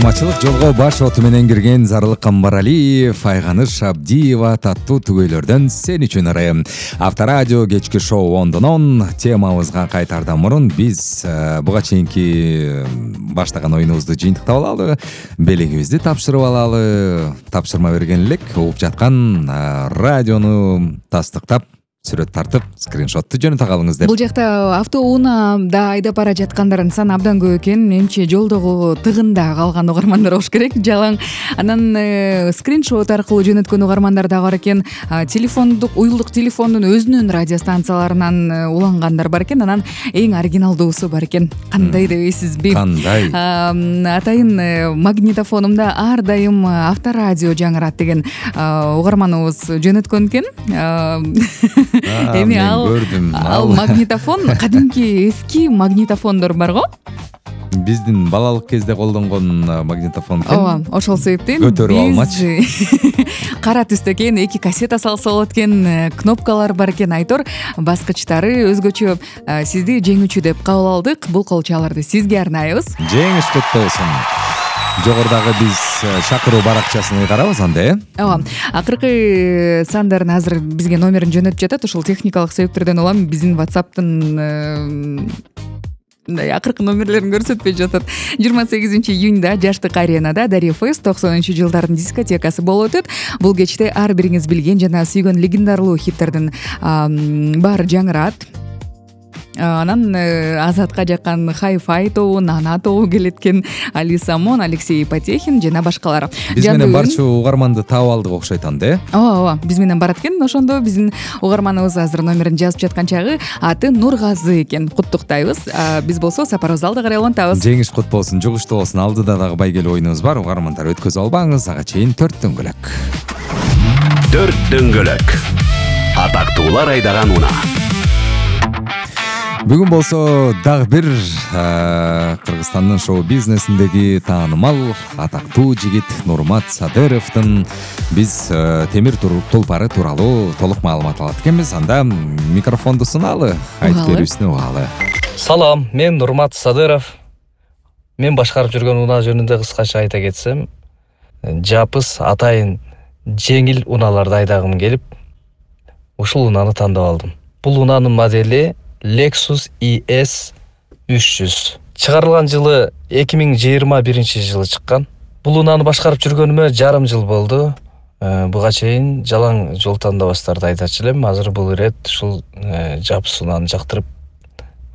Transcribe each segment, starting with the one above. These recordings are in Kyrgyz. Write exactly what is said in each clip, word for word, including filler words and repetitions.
саламатчылык жолго баш оту менен кирген Зарлык Камбаралиев, Айганыш Абдиева таттуу түгөйлөрдөн сен үчүн ырайым. Авторадио кечки шоу ондон он темабызга кайтаардан мурун биз буга чейинки баштаган оюнубузду жыйынтыктап алалы, белегибизди тапшырып алалы. Тапшырма берген элек угуп жаткан радиону тастыктап, сүрөт тартып, скриншотту жөнөтө калыңыз деп. Бул жакта автоунаада айдап бара жаткандардын саны абдан көп экен. Менимче жолдогу тыгында калган угармандар болуш керек. Жалаң анан э, скриншот аркылуу жөнөткөн угармандар да бар экен. А, телефондук, уюлдук телефондун өзүнүн радиостанцияларынан э, улангандар бар экен. Анан эң оригиналдуусу бар экен. Кандай дебейсизби? Кандай? А, атайын э, магнитофонумда ар дайым авторадио жаңырат деген а, угарманыбыз жөнөткөн экен. А, Эми ал ал магнитофон кадимки эски магнитофондор бар го. Биздин балалык кезде колдонгон магнитофон экен. Ооба, ошол себептен көтөрүп алмачы. Кара түстө экен, эки кассета салса болот экен, кнопкалар бар экен, айтор баскычтары өзгөчө. Сизди жеңүүчү деп кабыл алдык. Бул колчаларды сизге арнайбыз. Жеңиш куттуу болсун. Жогорудагы биз шакыруу баракчасын карабыз анда, э? Ооба. Акыркы сандарын азыр бизге номерин жөнөтүп жатат. Ушул техникалык себептерден улам биздин WhatsApp'тын мындай акыркы номерлерин көрсөтпөй жатат. жыйырма сегизинчи июнда Жаштык аренада Дарья Фест токсонунчу жылдардын дискотекасы болуп өтөт. Бул кечте ар бириңиз билген жана сүйгөн легендарлуу хиттердин баары жаңырат. Анан Азатка жаккан Hi-Fi тобу, Нана тобу келет экен, Али Самон, Алексей Потехин жана башкалар. Биз менен барчу угарманды таап алдык окшойт анда, э? Ооба, ооба, биз менен барат экен. Ошондо биздин угарманыбыз азыр номерин жазып жаткан чагы аты Нургазы экен. Куттуктайбыз. Биз болсо сапарыбызды алда карай улантабыз. Жеңиш кут болсун, жугуштуу болсун. Алдыда дагы байгелүү оюнубуз бар. Угармандар өткөзүп албаңыз. Ага чейин төрт дөңгөлөк. Төрт дөңгөлөк. Атактуулар айдаган унаа. Бүгүн болсо дагы бир Кыргызстандын шоу бизнесиндеги таанымал, атактуу жигит Нурмат Садыровдун биз темир тулпары тууралуу толук маалымат алат экенбиз. Анда микрофонду суналы, айтып берүүсүнө угалы. Салам, мен Нурмат Садыров. Мен башкарып жүргөн унаа жөнүндө кыскача айта кетсем, жапыс, атайын, жеңил унааларды айдагым келип, ушул унааны тандап алдым. Бул унаанын модели Lexus и эс үч жүз. Чыгарылган жылы эки миң жыйырма биринчи жылы чыккан. Бул унааны башкарып жүргөнүмө жарым жыл болду. Буга чейин жалаң жол тандабастарды айтачу элем. Азыр бул ирет ушул жапыс унааны жактырып,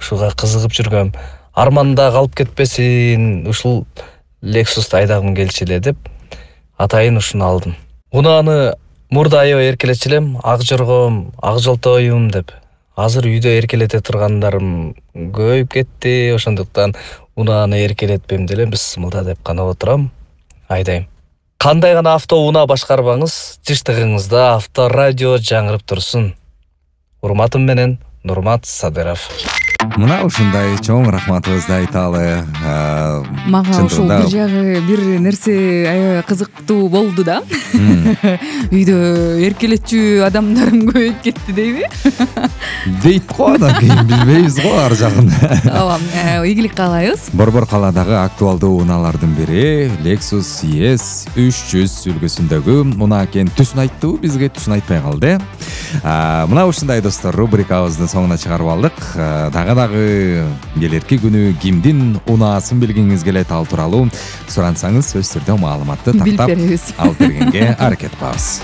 ушуга кызыгып жүргөм. Арманда калып кетпесин, ушул Lexus'ты айдагым келчү эле деп атайын ушуну алдым. Унааны мурда аябай эркелечү элем, ак жоргом, ак жолтоюм деп. Азыр үйдө эркелете тургандарым көбөйүп кетти, ошондуктан унааны эркелетпем деле бисмилда деп гана отурам, айдайм. Кандай гана авто унаа башкарбаңыз, жыштыгыңызда авторадио жаңырып турсун. Урматым менен Нурмат Садыров. Мына ушундай чоң рахматыбызды айталы. Мага ушул бир жагы бир нерсе аябай кызыктуу болду да. Үйдө эркелетчү адамдарым көбөйүп кетти дейби? Дейт го, анан кийин билбейбиз го ар жагын. Ооба, ийгилик каалайбыз. Борбор калаадагы актуалдуу унаалардын бири Lexus и эс үч жүз үлгүсүндөгү унаа экен. Түсүн айттыбы бизге, түсүн айтпай калды. Мына ушундай достор, рубрикабыздын соңуна чыгарып алдык. Дагы-дагы келерки күнү кимдин унаасын билгиңиз келет, ал тууралуу сурансаңыз сөз түрдө маалыматты тактап алып бергенге аракет кылабыз.